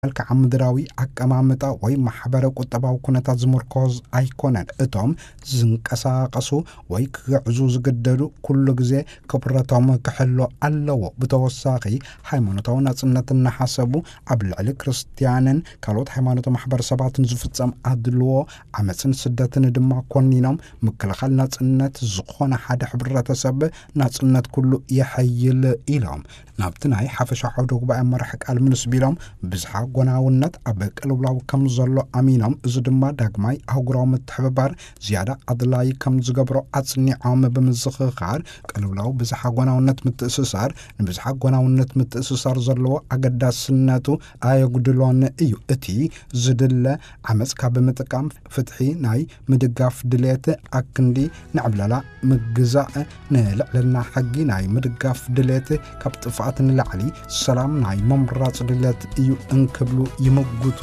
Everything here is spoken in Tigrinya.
መልክዓ ምድራዊ ኣቀማምጣ ወይ ማሕበረ ቁጠባዊ ኩነታት ዝምርኮዝ ኣይኮነን። እቶም ዝንቀሳቐሱ ወይ ክግዕዙ ዝግደዱ ኩሉ ግዜ ክብረቶም ክሕሎ ኣለዎ። ብተወሳኺ፣ ሃይማኖታዊ ናጽነት እናሓሰቡ ኣብ ልዕሊ ክርስትያንን ካልኦት ሃይማኖታዊ ማሕበረሰባትን ዝፍጸም ኣድልዎ፣ ዓመጽን ስደትን ድማ ኮኒኖም፣ ምክልኻል ናጽነት ዝኾነ ሓደ ሕብረተሰብ ናጽነት ኩሉ የሐይል ኢሎም። ናብቲ ናይ ሓፈሻ ዓውደ ጉባኤ መራሕ ቃል ምልስ ቢሎም፣ ብዝሓ ጎናውነት ኣብ ቅልውላው ከም ዘሎ ኣሚኖም፣ እዚ ድማ ዳግማይ ኣህጉራዊ ምትሕብባር ዝያዳ ኣድላይ ከም ዝገብሮ ኣጽኒዖም ብምዝኽኻር፣ ቅልውላው ብዝሓ ጎናውነት ምትእስሳር ንብዝሓ ጎናውነት ምትእስሳር ዘለዎ ኣገዳስነቱ ኣየጉድሎን እዩ። እቲ ዝድለ ዓመጽ ካብ ምጥቃም ፍትሒ ናይ ምድጋፍ ድሌት ኣክንዲ ንዕብለላ ምግዛእ ንልዕልና ሕጊ ናይ ምድጋፍ ድሌት ካብ ጥፍኣት ንላዕሊ ሰላም ናይ ምምራጽ ድሌት እዩ እንክብሉ ይምጉቱ።